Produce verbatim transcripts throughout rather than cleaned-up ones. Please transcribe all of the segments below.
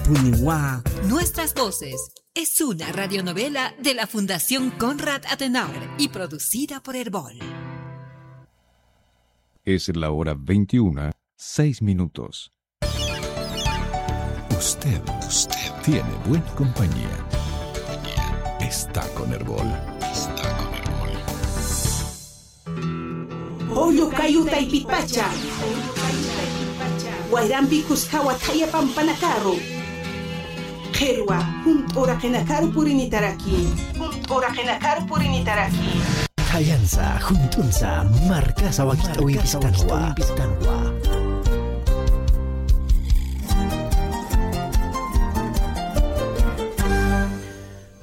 Puniwa. Nuestras voces. Es una radionovela de la Fundación Konrad Adenauer y producida por Erbol. Es la hora veintiuna, seis minutos. Usted, usted tiene buena compañía. Está con Erbol. Está con Erbol. Pollo kayu taypipacha. Wayrampi kuskawa thaya pampanakaru. Qhirwa, junt'u uraqinakaru purinitaraki. Junt'u uraqinakaru purinitaraki. Thayansa, junt'unsa, markasa wakit'awimpistanwa.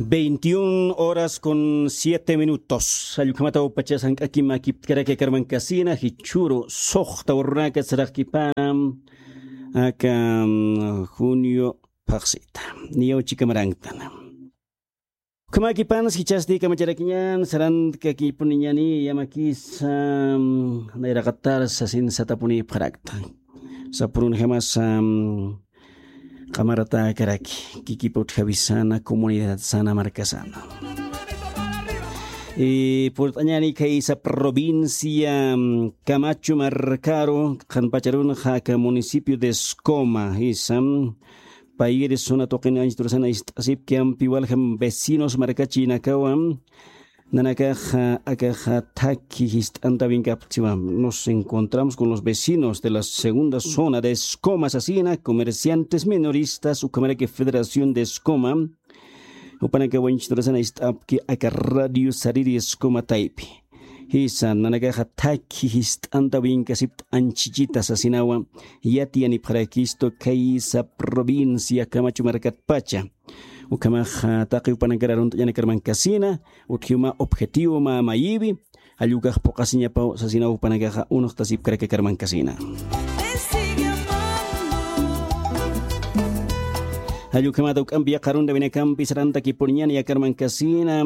Veintiún horas con siete minutos. Allukhamata upacha sank'akim akiptkaraki akarmankasina, jichhüru suxta urunaka saraqkipana, aka, mm, junio phaxsita. Niyaw chika maranktan. Ukhamäkipanas jichhasti kamacharakiñän, sarantkakipuniñäni, yamakisa, mm, nayraqatar sasin satapunipxarakta. Sapürunjamasa, mm, qamaratäkaraki, kikip utjawisana, comunidad sana, markasana. Y purt'añäni khaysa provincia, mm, Camacho markaru, qhanpacharunxa aka municipio de Escoma, jisa, mm, Payiri zona tuqin anchhit urasana ist'asipki, ampi waljam vecinos markachinakawa, nanakaxa, akaxa thakhi jist'antawinkapxta siwa. Nos encontramos con los vecinos de la segunda zona de Escoma sasina, comerciantes minoristas, ukhamaraki Federación de Escoma, jupanakawa anchhit urasana ist'apki aka radio sariri Escoma taypi. Jisa, nanakaxa thakhi jist'antawinkasipxta anchhichita sasinawa, yatiyanipxarakistu khaysa provincia Camacho markatpacha. Ukhamaxa taqi jupanakar arunt'añäni akarmankasina, utjiw mä objetivo mä mayiwi, jall ukax phuqhasiñapaw sasinaw jupanakaxa unuxtasipkaraki akarmankasina. Jall ukhamata juk'ampi yaqha arunt'awinakampi sarantakipuniñäni akarmankasina,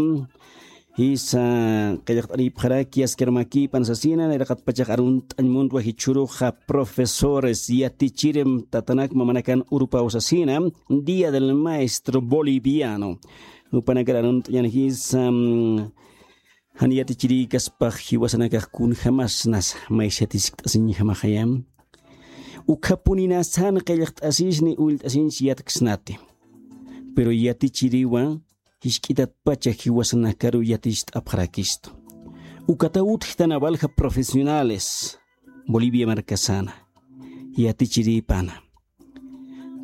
jisa, qillqt'anipxaraki aski armakipan sasina, nayraqatpachax arunt'añ muntwa jichhüruxa profesores, yatichiri tatanak mamanakan urupaw sasina, Día del Maestro Boliviano. Jupanakar arunt'añäni jisa, mm, jan yatichirïkaspax jiwasanakax kunjamasnasa, maysa yatiskt'asiñjamaxaya. Ukhapuninasan qillqt'asisni ullt'asiñs yatksnati. Pero yatichiriwa, jisk'itatpacha jiwasanakaru yaticht'apxarakistu. Ukataw utjtana walja profesionales Bolivia markasana, yatichirïpana.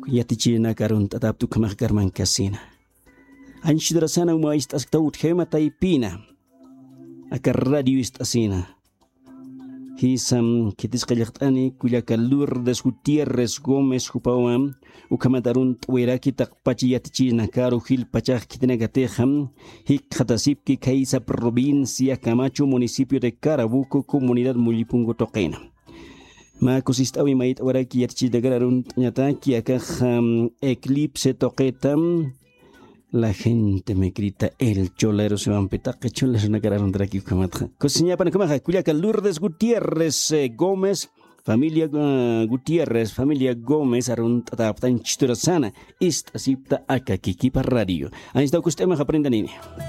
Yatichirïnakar arunt'atapxta ukhamax akarmankasina. Anchhit urasana uma ist'asktaw utjawima taypina. Aka radio ist'asina. Jisa, khitis qillqt'ani kullaka Lourdes Gutiérrez Gómez jupawa, ukhamat arunt'awiraki taqpacha yatichirïnakaru jilpachax khitinakatixa, jikxatasipki khaysa provincia Camacho, municipio de Carabuco, comunidad Mullipungu tuqina. Mä kusist'awi mayt'awiraki yatichirïnakar arunt'añataki akax, mm, eclipse tuqita, La gente me grita el cholero siwampi, taqi choleronakar arunt'araki ukhamatxa. Kusiñapan ukhamaxa, kullaka Lourdes Gutiérrez, eh, Gómez, familia, eh, Gutiérrez, familia Gómez, arunt'atäpxta anchhit urasana, ist'asipxta aka Kikipa Radio. Anchhitaw kust'amax aprendanini.